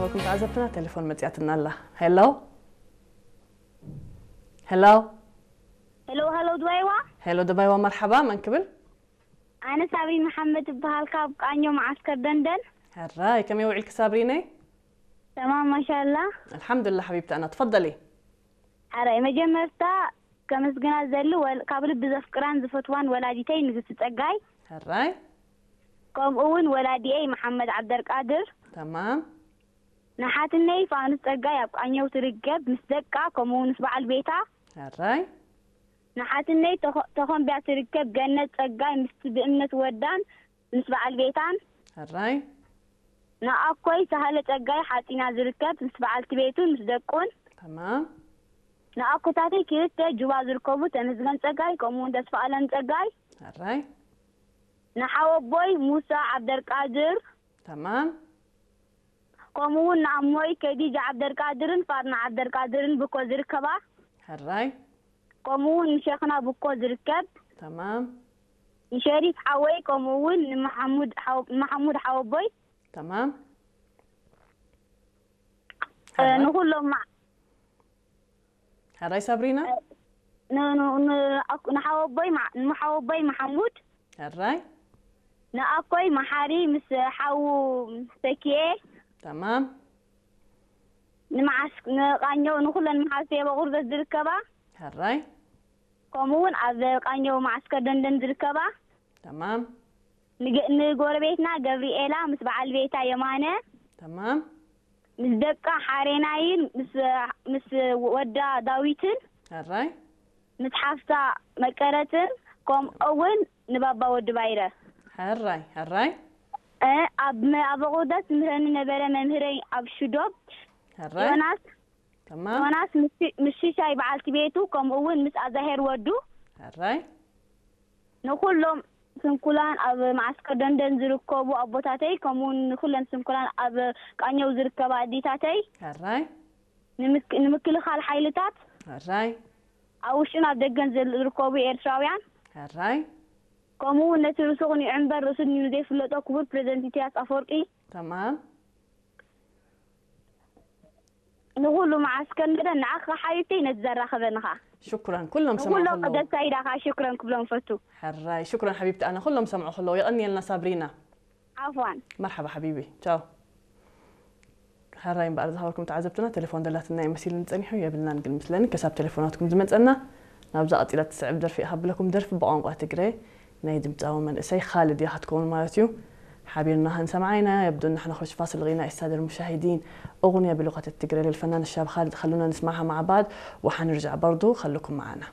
ወኩም ተዓዘብትና ቴሌፎን መጽያትና ኣላ። ሄሎ፣ ሄሎ፣ ሄሎ፣ ሄሎ፣ ድባይዋ። ሄሎ፣ ድባይዋ፣ መርሓባ። መን ክብል? ኣነ ሳብሪን መሓመድ እበሃል፣ ካብ ቃኞ መዓስከር ደንደን። ሕራይ፣ ከመይ ውዒልኪ ሳብሪነይ? ተማም ማሻላ። ኣልሓምዱላ ሓቢብቲ ኣና፣ ትፈደሊ። ሕራይ፣ መጀመርታ ከመስግና ዘሊ ወል- ካብ ልቢ ዘፍቅራን ዝፈትዋን ወላዲተይ ንግስቲ ጸጋይ፣ ሕራይ፣ ከምኡ እውን ወላዲኤይ መሓመድ ዓብደልቃድር፣ ተማም። ንሓትነይ ፋኑስ ጸጋይ ኣብ ቃኘው ትርከብ ምስ ደቃ፣ ከምኡ እውን ምስ በዓል ቤታ። ሕራይ፣ ንሓትነይ ተኾ- ተኾምቢያ ትርከብ ገነት ጸጋይ ምስቲ ብእምነት ወዳን ምስ በዓል ቤታን። ሕራይ፣ ንኣኮይ ሳህለ ጸጋይ ሓጺና ዝርከብ ምስ በዓልቲ ቤቱን ምስ ደቁን። ተማም። ንኣኮታተይ ክልተ ጁባ ዝርከቡ ተመስገን ጸጋይ ከምኡ እውን ተስፋ ኣለም ጸጋይ። ሕራይ፣ ንሓወቦይ ሙሳ ዓብደልቃድር ተማም። ከምኡ እውን ንኣሞይ ከዲጃ ዓብደልቃድርን ፋርና ዓብደልቃድርን ብኮ ዝርከባ። ሕራይ፣ ከምኡ እውን ንሸኽና ብኮ ዝርከብ። ተማም። ንሸሪፍ ሓወይ ከምኡ እውን ንመሓሙድ ሓው- ንመሓሙድ ሓወቦይ። ተማም። እ፣ ንኹሎም ማ- ሕራይ ሳብሪና። ን- ን- ን- ኣኩ- ንሓወቦይ ማ- ንሓወቦይ መሓሙድ፣ ሕራይ፣ ንኣኮይ መሓሪ ምስ ሓዉ ተኪኤ፣ ተማም። ንመዓስ ንቃኘው ንኩለን መሓዝተይ ኣብ ኣቑርደት ዝርከባ፣ ሕራይ፣ ከምኡ እውን ኣብ ቃኘው መዓስከር ደንደን ዝርከባ፣ ተማም። ንገ- ንጎረቤትና ገብርኤላ ምስ በዓል ቤታ የማነ፣ ተማም። ምስ ደቃ ሓሬናይን ምስ ምስ ወዳ ዳዊትን፣ ሕራይ፣ ምስ ሓፍታ መቀረትን፣ ከምኡ እውን ንባባ ወዲ ባይረ። ሕራይ፣ ሕራይ። እ፣ ኣብ መ- ኣብ ኣቑርደት ዝምህረኒ ነበረ መምህረይ ኣብ ሽዶብ ሕራይ፣ ዮናስ ተማም። ዮናስ ምስ- ምስ ሽሻይ በዓልቲ ቤቱ፣ ከምኡ እውን ምስ ኣዛሄር ወዱ። ሕራይ፣ ንኩሎም ስንኩላን ኣብ መዓስከር ደንደን ዝርከቡ ኣቦታተይ፣ ከምኡ እውን ንኩለን ስንኩላን ኣብ ቃኘው ዝርከባ ኣዴታተይ፣ ሕራይ፣ ንምክ- ንምክልኻል ሓይልታት፣ ሕራይ፣ ኣብ ውሽጥን ኣብ ደገን ዘል- ዝርከቡ ኤርትራውያን፣ ሕራይ። ከምኡ እውን ነቲ ርእሱ ቅኒዑ እምበር ርእሱ ድዩ ዘይፍለጦ ክቡር ፕሬዚደንት ኢሳያስ ኣፈወርቂ፣ ተማም። ንኩሉ መዓስከር ደንደን፣ ንዓኻ ሓቢብተይ ነቲ ዘራኸበንኻ፣ ሽኩራን፣ ኩሎም ሰምዑ ንኩሎም ከለዉ። ደስታ ኢዳኻ ሽክረን ክብሎም ፈቱ። ሕራይ፣ ሽኩራን ሓቢብቲ ኣና፣ ኩሎም ሰምዑ ከለዉ። የቐንየልና ሳብሪና። ዓፍዋን። መርሓባ ሓቢቢ፣ ቻው። ሕራይ እምበኣር ዝሃበኩም ተዓዘብትና ቴሌፎን ደላትና እዩ መሲልኒ ጸኒሑ፣ የብልናን ግን ምስለኒ። ከሳብ ቴሌፎናትኩም ዝመጸና፣ ናብዛ ቀጺላ ትስዕብ ደርፊ እየ ከብለኩም። ደርፊ ብቋንቋ ትግረ ናይ ድምጻዊ መንእሰይ ካልድ እያ ክትከውን ማለት እዩ። ሓቢርና ክንሰምዓ ኢና። يبدو أن احنا نخش فاصل غنائي السادة المشاهدين، أغنية بلغة التجري للفنان الشاب خالد. خلونا نسمعها مع بعض وحنرجع برضو، خلوكم معنا.